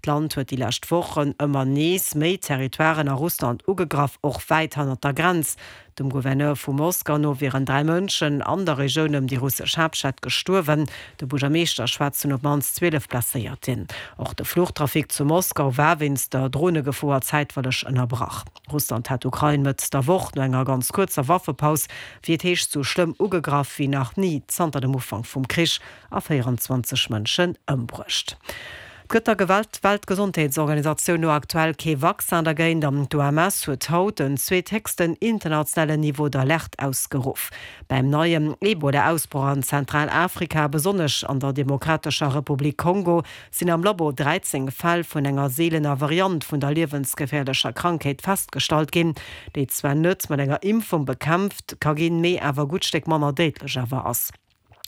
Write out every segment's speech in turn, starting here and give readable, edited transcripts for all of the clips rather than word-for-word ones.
D'Land huet déi lescht Wochen ëmmer nees méi Territoiren a Russland ugegraff, och wäit hannert der Grenz. Dem Gouverneur vu Moskau no wieren 3 Mënschen an der Regioun ëm déi russesch Haaptstad gestuerwen. De Buergermeeschter schwätzt vun op d'mannst 12 Blesséierten. Och de Fluchtrafic zu Moskau war wéinst der Dronegefoer zäitweileg ënnerbrach. Russland hat d'Ukrain Mëtt der Woch no enger ganz kuerzer Waffepaus, wéi et heescht, sou schlëmm ugegraff wéi nach ni zanter dem Ufank vum Krich a 24 Mënschen ëmbruecht. Et gëtt der Weltgesondheetsorganisatioun no aktuell kee Vaccin dergéint an d'OMS huet haut den zweethéchsten internationalen Niveau d'alerte ausgeruff. Beim neien Ebola-Ausbroch an Zentralafrika, besonnesch an der Demokratescher Republik Kongo, sinn am Labo 13 Fäll vun enger seelener Variant vun der liewensgeféierlecher Krankheet festgestallt ginn, déi zwar net mat enger Impfung bekämpft ka ginn, mee awer e gutt Stéck manner déidlech awer ass.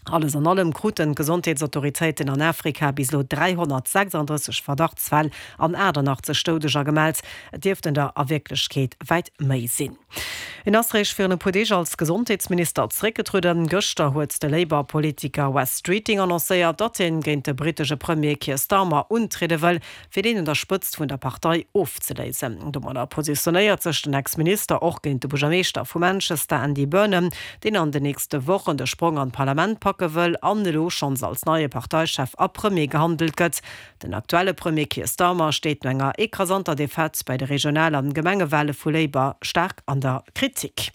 Alles an allem kruten d'Gesondheetsautoritéiten an Afrika bis elo 336 Verdachtsfäll an 88 Doudeger gemellt. Et dierften der a Wierklechkeet wäit méi sinn. En ass réischt virun e puer Deeg als Gesondheetsminister zeréckgetrueden. Gëschter huet de Labour-Politiker Wes Streeting annoncéiert, datt hien géint de brittesche Premier Keir Starmer untriede wëll, fir deen un der Spëtzt vun der Partei ofzeléisen. Domadder positionéiert sech den Ex-Minister och géint de Buergermeeschter vu Manchester, Andy Burnham, deen an den nächste Wochen de Sprong an d'Parlament packe wëll an elo schonns als neie Parteichef a Premier gehandelt gëtt. Den aktuelle Premier Keir Starmer steet no enger ekrasanter Defaite bei de Regional an Gemengewale vu Labour staark an der Kritik.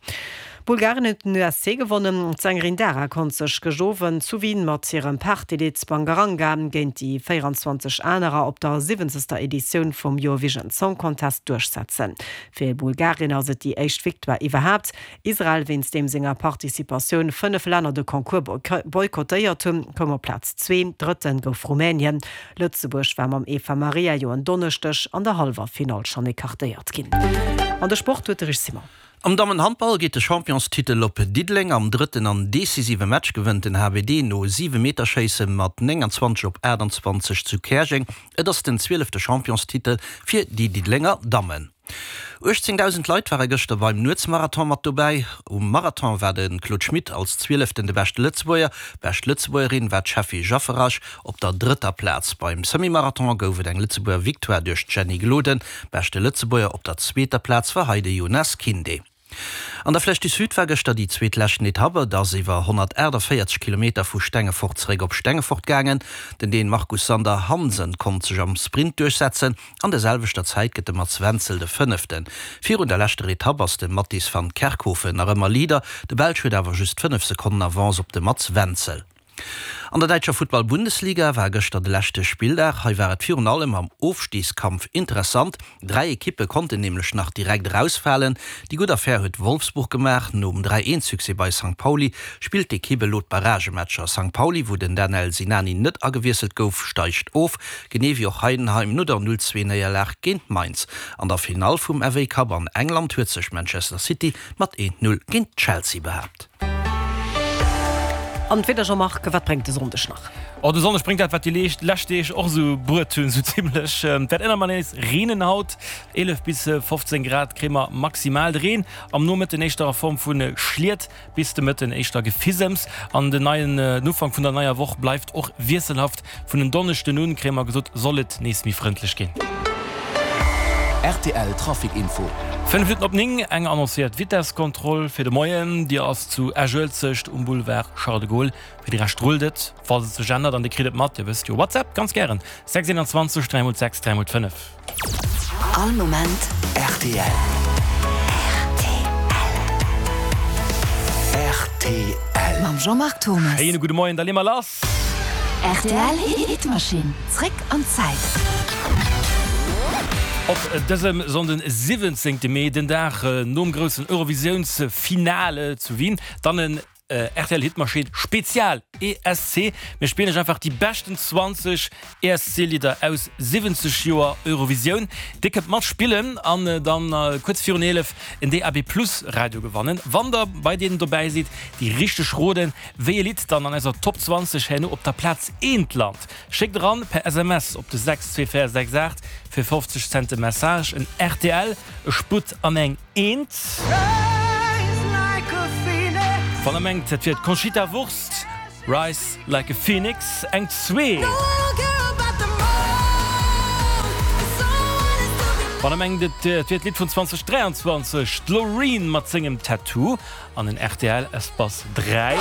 Bulgarien huet den ESC gewonnen. D'Sängerin Dara konnt sech gëscht Owend zu Wien mat hirem Partylidd Bangaranga géint déi 24 anerer op der siwwenzegster Editioun vum Eurovision Song Contest duerchsetzen. Fir Bulgarien ass et déi éischt Victoire iwwerhaapt. Israel, wéinst deem senger Participatioun 5 Länner de Concours boykottéiert hunn, koum op Plaz zwee. Drëtte gouf Rumänien. Lëtzebuerg war mam Eva Maria jo en Donneschdeg an der Hallwerfinall schonn ecartéiert ginn. An de Sport huet de Rich Simon. Am Dammenhandball geet de Championstitel op Diddeleng. Am drëtten an decisive Match gewënnt den HBD no Siwemeterschéisse mat 29 op 28 zu Käerjeng. Et ass den zwielefte Championstitel fir déi Diddelenger Dammen. 18.000 Leit ware gëschter beim Nuetsmarathon mat dobäi. Um Marathon war de Claude Schmit als Zwieleften de beschte Lëtzebuerger. Bescht Lëtzebuergerin war d'Sheffy Jafferaj op der drëtter Plaz. Beim Semi-Marathon gouf et eng Lëtzebuerger Victoire duerch d'Jenny Gloden. Beschte Lëtzebuerger op der zweeter Plaz war hei de Jonas Kinde. An der Flèche du Sud war gëschter déi zweet leschten Etapp. Et ass iwwer 148 Kilometer vu Stengefort zeréck op Stengefort gaangen. Den Dän Markus Sander Hansen konnt sech am Sprint duerchsetzen. An der selwechter Zäit gëtt de Mats Wenzel de Fënneften. Virun der leschter Etapp ass de Mattis van Kerkhoven nach ëmmer Leader. De Belsch huet awer just 5 Sekonnen Avance op de Mats Wenzel. An der däitscher Futtball-Bundesliga war gëschter de leschte Spilldag. Hei war et virun allem am Ofstigskampf interessant. 3 Ekippe konnten nämlech nach direkt erausfalen. Déi gutt Affär huet Wolfsburg gemaach. Nom 3, 1 Succès bei Sankt Pauli spillt d'Ekipp elo d'Barragematcher. Sankt Pauli, wou den Danel Sinani net agewiesselt gouf, steigt of, genee wéi och Heidenheim no der 0, 2 Néierlag géint Mainz. An der Finall vum FA Cup an England huet sech Manchester City mat 1, 0 géint Chelsea behaapt. An d'Wieder, Jean-Marc, wat bréngt de Sonndeg nach? Oh, de Sonndeg bréngt dat, wat déi lescht Deeg och esou bruet hunn, esou zimmlech. Et wäert ëmmer nees reenen haut, 11 bis 15 Grad kréie mer maximal. De Reen am Nomëtten éischter a Form vu Schliet, bis de Mëtten éischter Gefisems. An den neien, den Ufank vun der neier Woch bleift och wiesselhaft. Vun en Donneschden un, kréie mer gesot, soll et nees méi frëndlech ginn. Rtl Trafic Info. 5 Minutten op 9, eng annoncéiert Vitesskontroll fir de Moien. Déi ass zu Esch-Uelzecht um Boulevard Charles de Gaulle. Fir de Rescht rullt et, falls et sech ännert an Dir kritt et mat, Dir wësst jo, WhatsApp ganz gären 6 21 3 x 6 3 x 5. All Moment rtl. Rtl. Mam Jean-Marc Thommes. Schéine gudde Moien, da lee mer lass! Rtl Hitmaschinn, zréck an d'Zäit. Op dësem Sonnden 17 Mee, den Dag nom groussen Eurovisiounsfinale zu Wien, dann en RTL Hitmaschinn Spezial ESC. Mir spillen iech einfach déi beschten 20 ESC Lidder aus 70 Joer Eurovisioun. Dir kënnt matspillen an dann kuerz virun 11 en DAB Plus Radio gewannen, wann der bei deenen dobäi sidd, déi richteg roden, wéi e Lidd dann an eiser Top 20 herno op der Plaz eent lant. Schéckt eran per SMS op de 62468 fir 50 Cent de Message en rtl, e Sputt an eng Eent. Wann der mengt et wier d'Conchita Wurst, Rise Like a Phoenix, eng zwee. Wann der mengt et wier d'Lidd vun 2023, d'Loreen mat sengem Tattoo an en rtl Espace 3.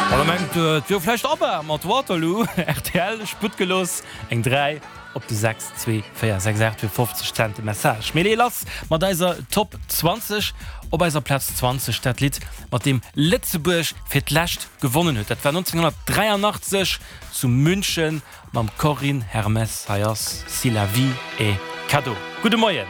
Wann der mengt et wier vläicht ABBA mat Waterloo, rtl Sputt gelooss eng 3 op de 6 2 4 6 8 fir 50 Cent de Message. Mir leeë lass mat eiser Top 20. Op eiser Plaz 20 dat Lidd mat deem Lëtzebuerg fir d'lescht gewonnen huet. Dat war 1983 zu München mam Corinne Hermès. Hei ass Si la vie est cadeau. Gudde Moien.